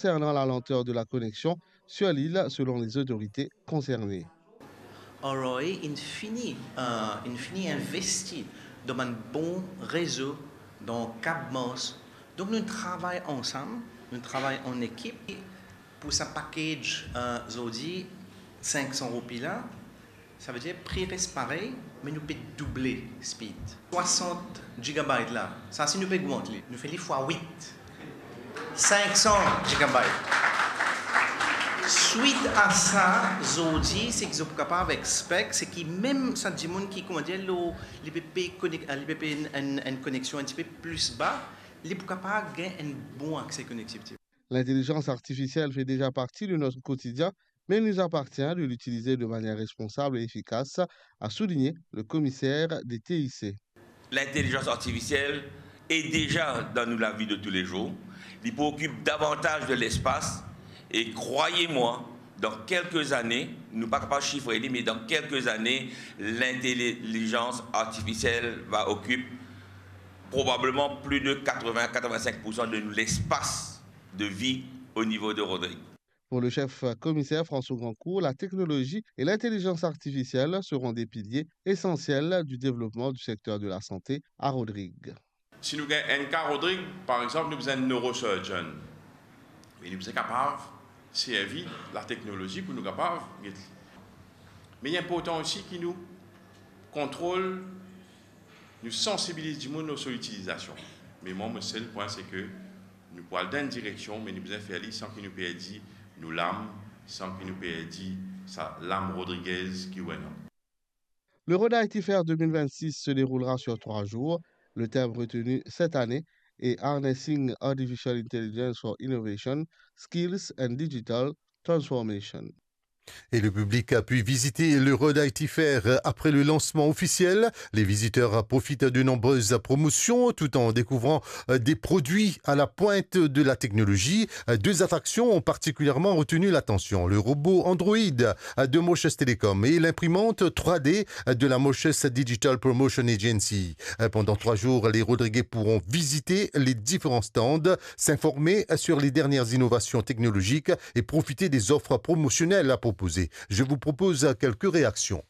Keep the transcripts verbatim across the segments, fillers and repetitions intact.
concernant la lenteur de la connexion sur l'île, selon les autorités concernées. R R A inn fini, euh, inn fini investi dan bann bon rezo, dan Kab Mars. Donk nou travay ansam, nou travay an ekip. Pou sa package, euh, zordi, sink san roupi la, savedir pri res parey, me nou pe double speed. Swasant gigabyte la, sa si nou pe ogmant li, nou fer li fwa wit. Sink san gigabyte. Swit a sa, zordi, seki zot pou kapav expect, seki mem sa dimoun ki, kouma dir, lor, li pe pey konek-, li pe pey enn, enn, enn koneksion enn tipe pli ba, li pou kapav gagn enn bon akse konektivite. L'intelligence artificielle fait déjà partie de notre quotidien, mais il nous appartient de l'utiliser de manière responsable et efficace, a souligné le commissaire des T I C. L'intelligence artificielle est déjà dans nos vies de tous les jours. Li pou okip davantaz de lespas e, krwar mwa, dan kelke zane, nou pa kapav sifre li, me dan kelke zane, lintelizans artifisiel va okip probableman plis de katrevin, katrevin-sink poursan de nou lespas de vi o nivo de Rodrig. Pour le chef commissaire François Grandcourt, la technologie et l'intelligence artificielle seront des piliers essentiels du développement du secteur de la santé à Rodrig. Si nou gagn enn ka Rodrig, par exanp, nou bizin enn neurosurgeon. Me nou bizin kapav servi lateknolozi pou nou kapav get li. Me li inportan osi ki nou kontrol, nou sansibiliz dimoun lor so itilizasion. Me mwa, mo sel pwin, se ke nou pou al dan enn direksion, me nou bizin fer li san ki nou perdi nou lam, san ki nou perdi sa lam rodrigez ki nou ena. Le Road I T Fair deux mille vingt-six se déroulera sur trois jours. Le thème retenu cette année est Harnessing Artificial Intelligence for Innovation, Skills and Digital Transformation. Et le public a pu visiter le Road I T Fair après le lancement officiel. Les visiteurs profitent de nombreuses promotions tout en découvrant, euh, des produits à la pointe de la technologie. Euh, deux attractions ont particulièrement retenu l'attention, le robot androïde, euh, de Mauritius Telecom et l'imprimante trois D, euh, de la Mauritius Digital Promotion Agency. Euh, pendant trois jours, les Rodriguais pourront visiter les différents stands, s'informer sur les dernières innovations technologiques et profiter des offres promotionnelles à proposer. Je vous propose quelques réactions.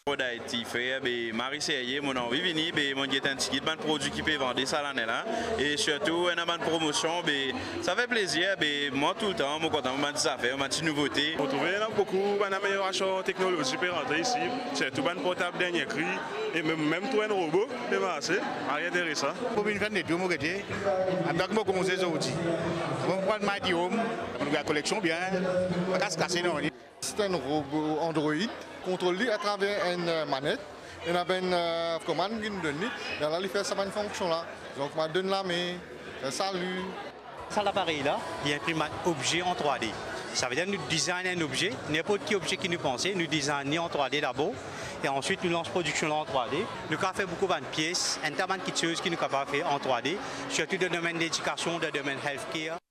Road I T Fair, be, mari serye, mo anvi vini, be, mo get enn tigit bann prodwi ki pe vande sa lane la, e sirtou ena bann promosion, be, sa fer plezir, be, mwa toultan mo kontan bann ti zafer, bann ti nouvote. Mo trouve ena boukou bann ameliorasion teknolozi pe rantre isi, sirtou bann portab dernie kri, e mem, mem tou enn robo pe marse, mari interesan. Mo vinn fer enn letour, mo gete, antan ki mo komanse zordi. Mo pran my home, mo trouv koleksion bien, pa kas kase non. C'est un robot Android, kontrol li atraver enn, euh, manet, ena bann, euh, komann ki nou donn li, lerla li fer sa bann fonksion la. Donk, mo donn lame, fer sali. Sa laparey la, li inprim bann obze an trwa D. Savedir nou design enn obze, ninport ki obze ki nou panse, nou design li an trwa D dabor, e answit nou lans prodiksion la an trwa D. Nou kapav fer boukou bann pies, enn ta bann kiksoz ki nou kapav fer an trwa D, sirtou dan domenn ledikasion, dan domenn healthcare.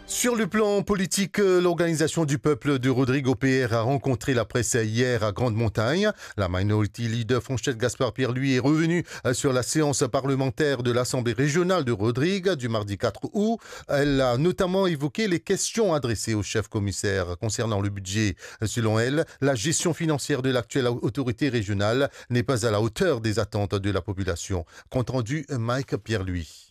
Sur le plan politique, euh, l'Organisation du Peuple de Rodrigue, O P R, a rencontré la presse hier à Grande-Montagne. La Minority Leader Franchette Gaspard-Pierre, lui, est revenue, euh, sur la séance parlementaire de l'Assemblée régionale de Rodrigue du mardi quatre août. Elle a notamment évoqué les questions adressées au chef commissaire concernant le budget. Selon elle, la gestion financière de l'actuelle autorité régionale n'est pas à la hauteur des attentes de la population. Compte rendu, Mike Pierre-Louis.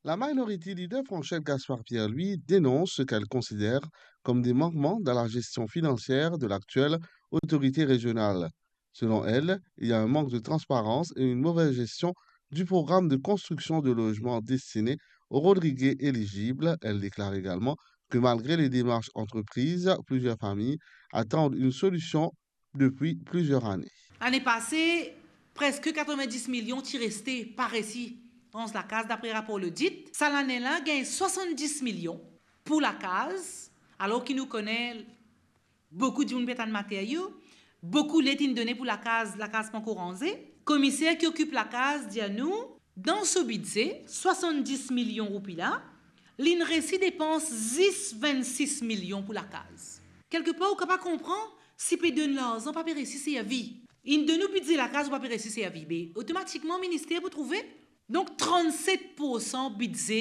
La Minority Leader Franchette Gaspard-Pierre, lui, dénonce ce qu'elle considère comme des manquements dans la gestion financière de l'actuelle autorité régionale. Selon elle, il y a un manque de transparence et une mauvaise gestion du programme de construction de logements destinés aux Rodriguais éligibles. Elle déclare également que malgré les démarches entreprises, plusieurs familles attendent une solution depuis plusieurs années. Lane pase, preske katrevin-dis milion ti reste pa resi rans lakaz, dapre rapor lodit. Sa lane la, gagn swasann-dis milion pou lakaz, alor ki nou kone boukou dimoun pe atann materyo, boukou led inn done pou lakaz, lakaz pankor ranze. Komiser ki okip lakaz dir nou, dan so bidze, swasann-dis milion roupi la, linn resi depans zis vinn-sis milion pou lakaz. Kelkepar, ou kapav konpran, si pe donn larzan, pa pe resi servi. Inn donn ou bidze lakaz, ou pa pe resi servi, be otomatikman minister pou trouve. Donk, trannset poursan bidze